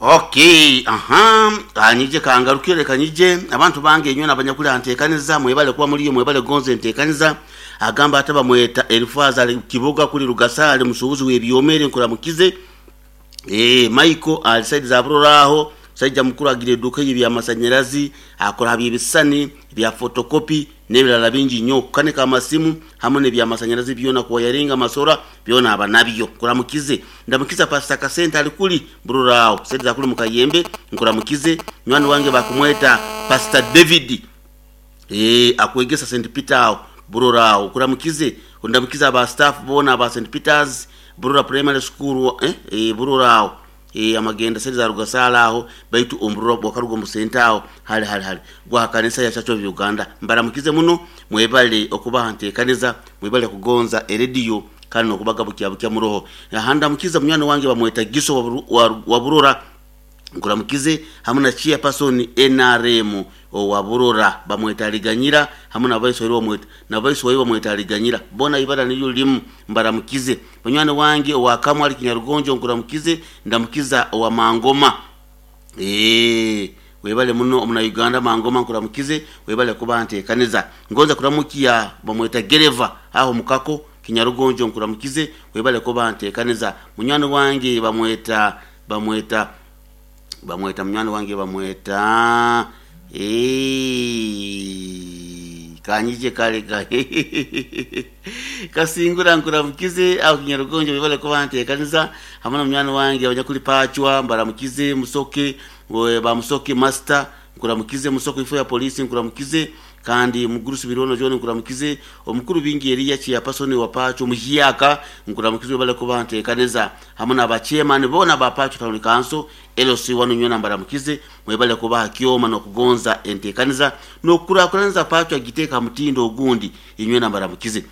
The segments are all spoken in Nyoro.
Okay, aha, kanyije kangarukire leka nyije abantu bange inywe nabanyakuli antekaniza mwebale kuba muliyo mwebale gonze entekaniza. Agamba ate bamweta Elifaza ali Kiboga kuli Rugasa ali musuubuzi w'ebyomere nkuramukize. Michael ali saidi za Burora aho, musaija mukuru agira eduuka ye by'amasanyarazi, akora ha by'ebisisani, bya photocopy n'ebirala bingi nnyo, kukanika amasimu hamu n'ebyamasanyarazi byona, kuwayaringa amasora byona aba nabyo. Nkuramukize. Ndamukiza Pastor Kasente ali kuli Burora aho, saidi za kuli Mukayembe, nkuramukize. Nywani wange bakumweta Pastor David. Akwegesa St. Peter aho Burora aho, nkuramukize. Ndamukiza aba staff boona aba St. Peters Burora Primary School, Burora aho. Amagenda saidi za Rugasaala aho, baitu omu Burora bwakaruga omu senta aho hali hali hali gwa kanisa ya Church of Uganda. Mbaramukize muno, mwebale okubaha ntekaniza, mwebale kugonza erediyo kandi n'okubaga bukya bukya muroho. Aha ndamukiza munywani wange bamweta Giso wa Burora, nkuramukize hamu na chairperson NRM owa Burora bamweta Aliganyira hamu na vice waiwe bamweta na vice waiwe bamweta Aliganyira, bona ibara niryo limu, mbaramukize. Munywani wange owa Kamwe ali Kinyarugonjo nkuramukize, ndamukiza owa Mangoma. Webale muno omuna Uganda Mangoma nkuramukize, webale kuba ntekaniza. Ngonza kuramukia bamweta Gereva aho mukako Kinyarugonjo nkuramukize, webale kuba ntekaniza. Munywani wange bamweta bamweta bamweta munywani wange bamweta kanyije kale ka kasingura nkuramukize aho Kinyarugonjo webale kuba ntekaniza hamwe na munywani wange abanyakuli Pachwa mbaramukize, Musoke we ba Musoke master nkuramukize, Musoke ifo ya polisi nkuramukize, kandi mugurusi birono John nkuramukize, omukuru bingi Elia chairperson wa Pacho muhiyaka nkuramukize webale kuba ntekaniza hamwe na ba chairman bona ba Pacho Town Council LC wanu nywena mbaramukize, mwebale kubaha kyoma n'okugonza entekaniza n'okukurakuranza Pacho agiteeka mutindo ogundi inywena mbaramukize.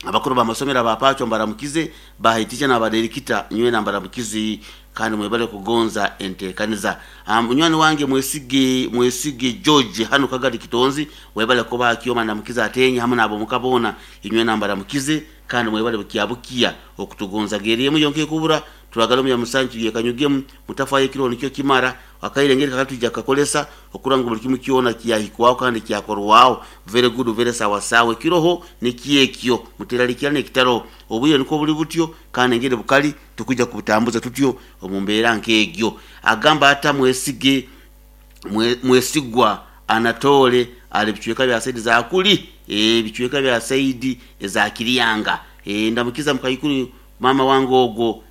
Abakuru b'amasomero aba Pacho mbaramukize, bahitisha n'abaderikita nywena mbaramukize, kandi mwebale kugonza entekaniza. Munywani wange mwesige mwesige George hano Kagadi Kitonzi webale kuba kyoma ndamukiza atenye hamwe nabo mukabona inywena mbaramukize, kandi mwebale bukiabukia okutugonza geriyemu yonke kubura turagala mu musanju yekanyugemu mutafaye kiro nikyo kimara akairengeri kakatujja kakolesa okuranga buli kimu kyona kyahikwao kandi kyakorwao very good very sawa sawa kiroho nikiekyo muteralikira nekitaro obuye niko buli butyo kandi ngere bukali tukuja kubutambuza tutyo omumbeera nkegyo. Agamba ata mwesige mwesigwa Anatole ali bichweka bya saidi za kuli bichweka bya saidi za Kiriyanga. Ndamukiza mkaikuru mama wangu ogo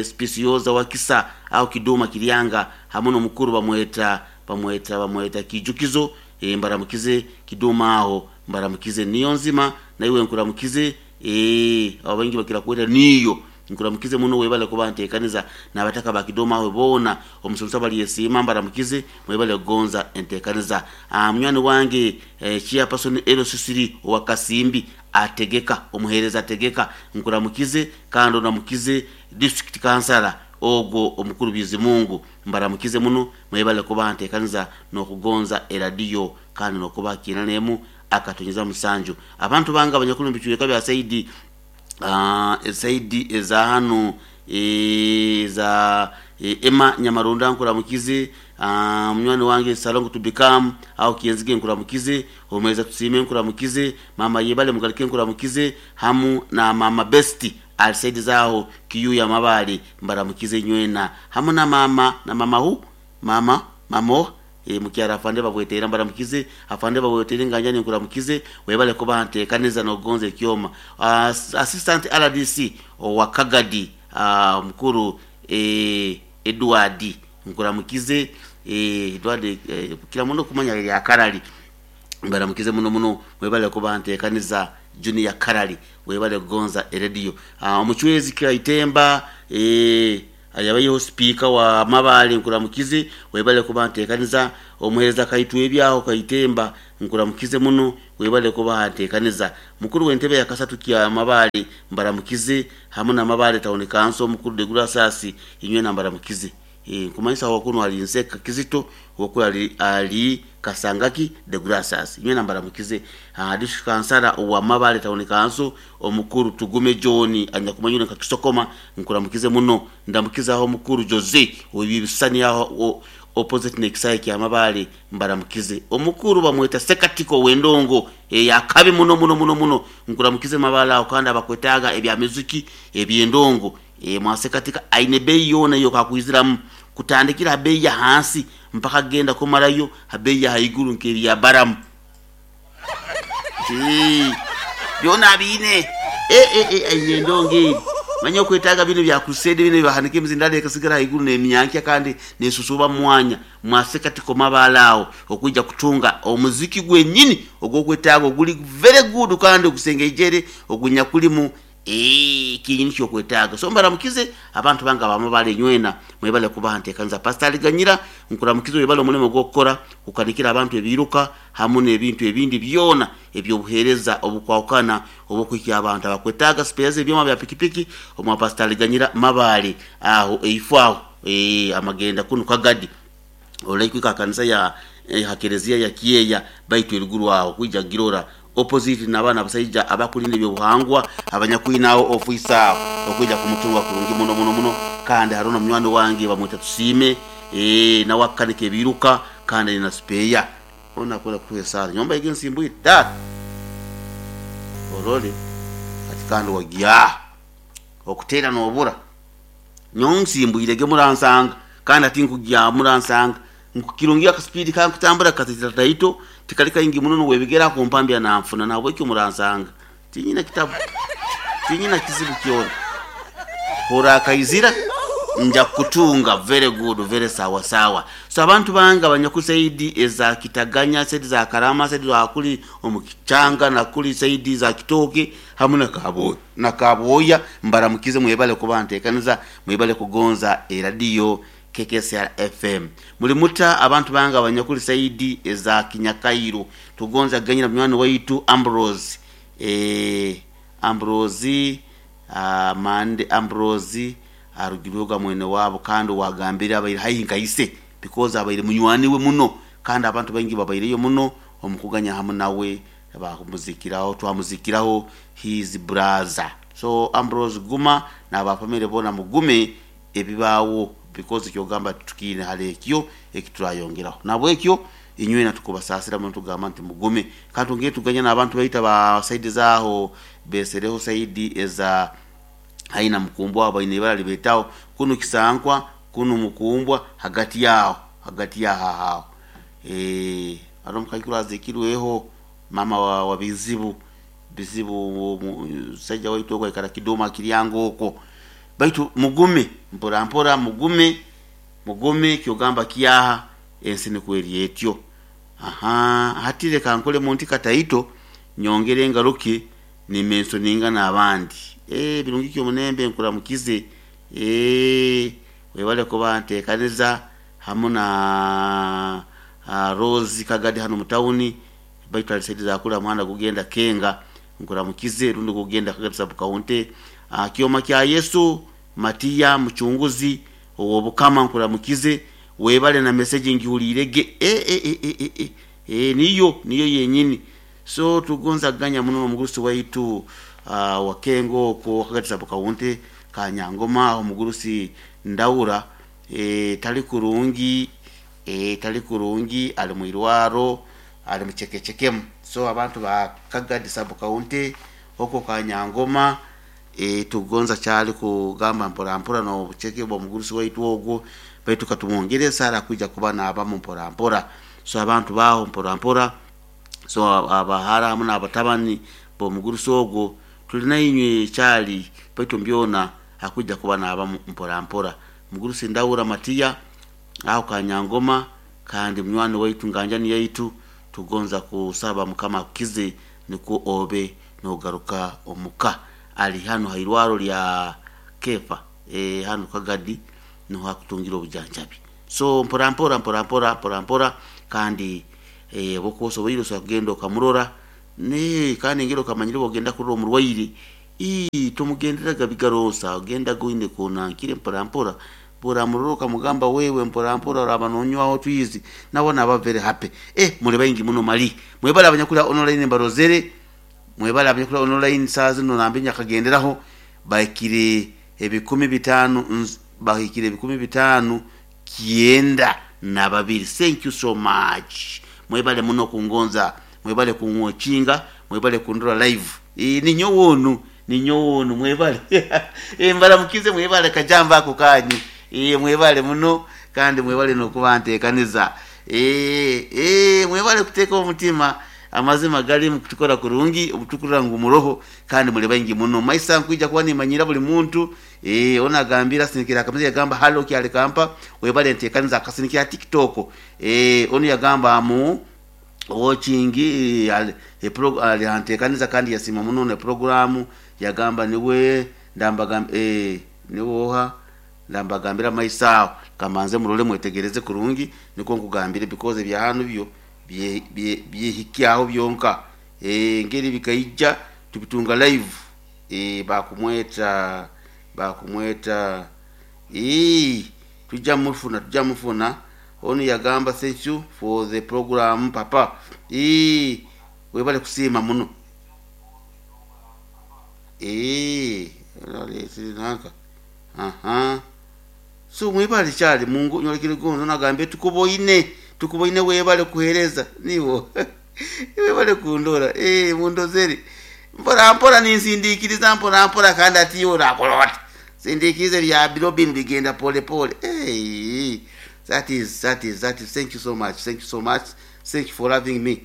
spisioza wakisa au Kiduma Kiriyanga hamwe n'omukuru bamweta bamweta bamweta Kijukizo. Mbaramukize Kiduma aho mbaramukize niyo nzima naiwe nkuramukize. Abo baingi bakira kweta niyo nkuramukize muno webale kuba ntekaniza n'abataka ba Kidoma aho bona omusomesa bali yesiima mbaramukize mwebale kugonza entekaniza. Munywani wange chairperson LCC owa Kasimbi ategeka omuhereza ategeka nkuramukize, kandi onamukize district councilor ogwo omukuru Bizimungu mbaramukize muno mwebale kuba ntekaniza n'okugonza eradiyo kandi n'okuba kinanemu akatonyeza musanju. Abantu bange abanyakulu bichweka bya saidi saidi eza hano za Emma Nyamarunda nkuramukize, munywani wange Salongo to become au Kienzige nkuramukize, omweza tusime nkuramukize, mama Yebale mugalike nkuramukize hamu na mama Besti alisaidi zao kiyu ya mabali mbaramukize nywena hamu na mama na mama hu mama mamo mukyara afande babwetera mbaramukize, afande babwetera nganjani nkuramukize webale kuba ntekaniza n'okugonza ekyoma. Assistant RDC owa Kagadi mukuru Edward nkuramukize, Edward kila muno kumanya ya Karali mbaramukize muno muno webale kuba ntekaniza Junior Karali webale kugonza erediyo. Omuchwezi Kaitemba ayabayeho speaker wa Mabale nkuramukize webale kuba ntekaniza, omuhereza Kaitwe ebyaho Kaitemba nkuramukize muno webale kuba ntekaniza, mukuru w'entebe ya kasatu kya Mabale mbaramukize hamwe na Mabale Town Council mukuru Degura Sasi inywe na mbaramukize. Nkumanyisa wakunu ali Nseka Kizito, wokulu ali Kasangaki de Gracias. Nywena mbaramukize. District kansara wa Mabale Town Council omukuru Tugume John anyakumanyura nka Kisokoma, nkuramukize muno. Ndamukiza aho mukuru Jose webibisani aho opposite nekisaye kya Mabale, mbaramukize. Omukuru bamweta Sekatiko wendongo yakabi muno muno muno muno, nkuramukize Mabale aho, kandi abakwetaga ebya muziki ebyendongo mwasekatika aine bei yona yo kakwiziramu kutandikira bei ya hansi mpaka genda kumarayo bei ya haiguru nkeri ya baramu byona bine aine ndongo manya okwetaga bino bya crusade bino bahanike emizindalo ekasigara haiguru n'emyankia kandi nesusuba mwanya. Mwasekatiko Mabale aho okwijja kutunga omuziki gwenyini ogwokwetaaga oguli very good kandi ogusengejere ogunyakulimu kinyini kyokwetaaga. So mbaramukize abantu bange abamabale nywena mwebale kubaha nteekaniza. Pastor Aliganyira nkuramukize, webale omulimo gw'okukora kukanikira abantu ebiruka hamu n'ebintu ebindi byona ebyobuheereza obukwawukana obwokuhikya abantu abakwetaaga spares ebyoma bya pikipiki omwa Pastor Aliganyira Mabale aho eifo aho amagenda kunu Kagadi olaikwika kanisa ya hakerezia ya Kieya baitu eruguru aho kwija girora opposite n'abaana abasaija abakulinda ebyobuhangwa abanyakwinaho ofiisa aho okwija kumutunga kurungi muno muno muno. Kandi hariho n'omunywani wange bamweta Tusiime nawe akanika ebiruka kandi aine na spare ona akwenda kutuha esaara nyomba egi ensimbwire tata orole ati kandi wagya okuteera n'obura nyowe nsimbwirege muransanga kandi ati nkugya muransanga nkukirungi akaspeed kankutambura katitaito tikali kaingi muno nuwebigera kumpambya nanfuna nabwekyo muransanga tinyina kitabu tinyina kizibu kyona hora kaizira nja kutunga very good very sawa sawa. So abantu banga abanyakusaidi eza Kitaganya, saidi za Karama, saidi za kuli omukichanga na kuli saidi za Kitoke hamu na Kaboya na Kaboya, mbaramukize mwebale kuba nteekaniza mwebale kugonza eradio KKCR FM. Muli muta abantu banga abanyakuli saidi eza Kinyakairo tugonza ganyira munywani waitu Ambrose Ambrose Mande Ambrose arugirwoga mwene wabo kandi wagambira abaire haihi nkaise because abaire munywani we muno kandi abantu baingi babaireyo muno omukuganya hamu nawe bakumuzikiraho twamuzikiraho his brother. So Ambrose guma n'abafamily bona mugume ebibaawo because kyogamba tukiine hali ekyo ekiturayongeraho nabwekyo inywena tukubasasira muntu tugamba nti mugume. Kandi tongere tuganya n'abantu baita ba saidi zaho besereho saidi eza haina mukumbwa abaine ibara libetaho kunu kisankwa kunu mukumbwa hagati yao hagati ya hahao aro mukakura azikirweho mama wa bizibu bizibu sajja waitu kwa ikara kidoma kiryango oko baitu mugume mpora mpora mugume mugume kyogamba kiyaha ensi nikweri etyo. Aha hatire kankole munti kataito nyongere ngaruke nimenso ninga n'abandi birungi kyo munembe nkuramukize webale kuba nteekaniza hamu na Rose Kagadi hano mutawuni baitu alisaidiza kula mwana kugenda Kenga nkuramukize rundi kugenda Kagadi sub county. Kioma kya Yesu Matia mchunguzi owobukama nkuramukize webale na message ngihulirege niyo niyo yenyini. So tugonza ganya muno omugurusi waitu wakengo ko Kagadi sub county Kanyangoma omugurusi Ndaura tali kurungi tali kurungi ali mwirwaro ali muchekechekemu. So abantu ba Kagadi sub county oko Kanyangoma tugonza kyali kugamba mpora mpora no bucheke bwa mugurusi waitu ogwo baitu katumwongere sara kuja kuba n'abamu mpora mpora. So abantu baho mpora mpora so abahara hamu n'abatabani b'omugurusi ogwo tulina inywe kyali baitu mbyona akuja kuba n'abamu mpora mpora. Mugurusi Ndaura Matia aho Kanyangoma kandi munywani waitu nganjani yaitu tugonza kusaba mukama akukize niko obe nogaruka omuka. Ali hano hairwaro lya Kefa hano Kagadi niho akutungira obujanjabi. So mpora mpora mpora mpora mpora mpora kandi bokosoboire osobola kugenda okamurora ne kandi ngero okamanyire bwogenda kurora omurwaire tomugenderaga bigaronsa ogenda goine konankire mpora mpora Buramurora okamugamba wewe mpora mpora oraba nonywaho twizi nabo naba very happy. Muli baingi muno mali mwebale abanyakula online mbarozere, mwebale abanyakula online saa zino nambe nyakagenderaho bahikire 5,000, bahikire 592. Thank you so much, mwebale muno kungonza, mwebale kunwochinga, mwebale kundora live. Ninyo wonu, ninyo wonu mwebale. Mbaramukize mwebale kajamba ako kanyu. Mwebale muno kandi mwebale nokuba ntekaniza. Mwebale kuteka omutima amazima gali mukutukora kurungi obutukura ngu muroho kandi muli baingi muno. Maisa nkwija kuba nimanyira buli muntu. Ona gambira sinikira akameze yagamba halo kyale kampa webale ntekaniza akasinikira TikTok. Ono yagamba mu watching alihantekaniza kandi yasima muno ne programu yagamba niwe ndambagamba niwoha ndambagambira maisao kamanze murole mwetegereze kurungi niko nkugambire because bya hano byo byehikyaho byonka. Ngeri bikaija tubitunga live. Bakumweta tujja mufuna onu yagamba thank you for the program papa. Webale kusima muno. Nanka aha so mwebale cyali mungu nyolekere gonzo nagambe tukuboine webale kuhereza niwo. Webale kundora mundozeri mpora mpora ninsindikiriza mpora mpora kandi ati yora kolota sindikirize bya birobin bigenda pole pole. That is thank you so much, thank you so much, thank you for loving me.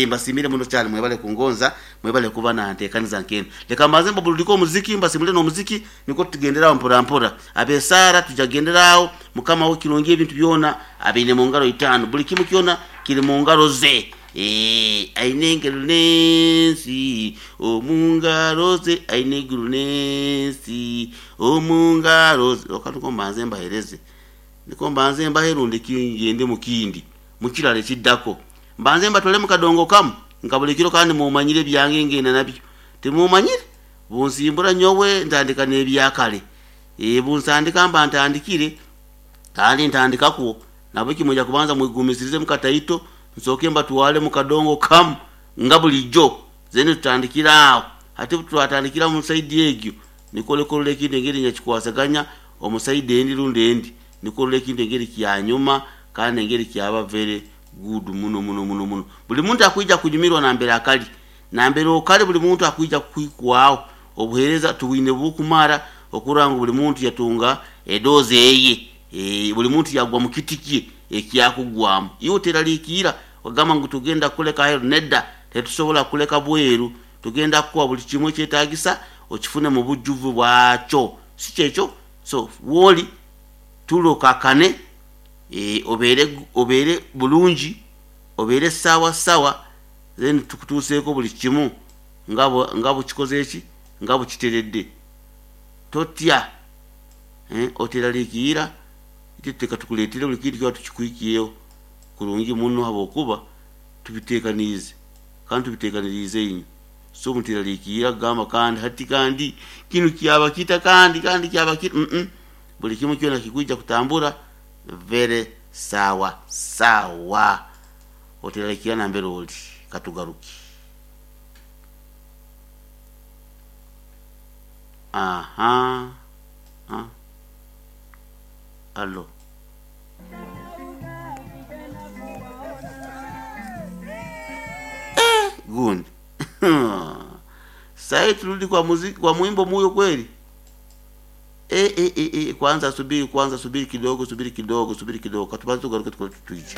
Mbasimire muno cyane mwebale kungonza, mwebale kuba nantekaniza nkene. Leka maze mbabululiko muziki, mbasimire no muziki niko tugenderaho mpora mpora. Abesara tujagenderaho mukama wo kirungi ebintu byona abine mu ngaro 5 buli kimu kyona kiri mu ngaro ze. Aine nensi omungaro ze, aine nensi omungaro ze. Okanuko mbanze mbahereze. Niko mbanze mbaherunde kingende mukindi mukirale kiddako mbanze mbatole mukadongo kamu nkabulikiro kandi mumanyire byange ngenda nabyo temumanyire bunsimbura nyowe ntandika n'ebyakale. Bunsandika mba ntandikire kandi ntandikako nabo kimoja kubanza mwigumisirize mukataito nsoke mbatwale mukadongo kamu nga bulijjo zene tutandikira awo ate twatandikira mu saidi egyo nikolekole ekindi engeri nyakikwasaganya omusaidi endi rundi endi nikolole ekintu engeri kyanyuma kandi engeri kyaba very good muno muno muno muno. Buli muntu akuija kunyumirwa nambere akali nambere okali buli muntu akuija kwikwawo obuhereza tuwine bukumara okuranga buli muntu yatunga edoze eye. Buli muntu yagwa mu kitiki ekyakugwamu iwe teralikira ogamba ngu tugenda kuleka hero nedda tetusobola kuleka bweru tugenda kuwa buli kimwe kyetagisa okifune mu bujjuvu bwakyo si kyekyo. So woli tulokakane obere bulungi obere sawa sawa then tukutuseeko buli kimu nga bukikoze eki nga bukiteredde totya oteralikira teka tukuleetera buli kintu kiba tukikwikiyeho kurungi muno habwokuba tubiteekaniize kandi tubiteekaniriize inyo. So muteralikira gamba kandi hati kandi kinu kyaba kita kandi kyaba kita buli kimu kyona kikuija kutambura very sawa sawa. Oteralikira nambere oli katugaruki. Aha allo gundi. Sasa turudi kwa muziki kwa mwimbo muyo kweli. Kwanza subiri kidogo katubanze tugaruke tuije.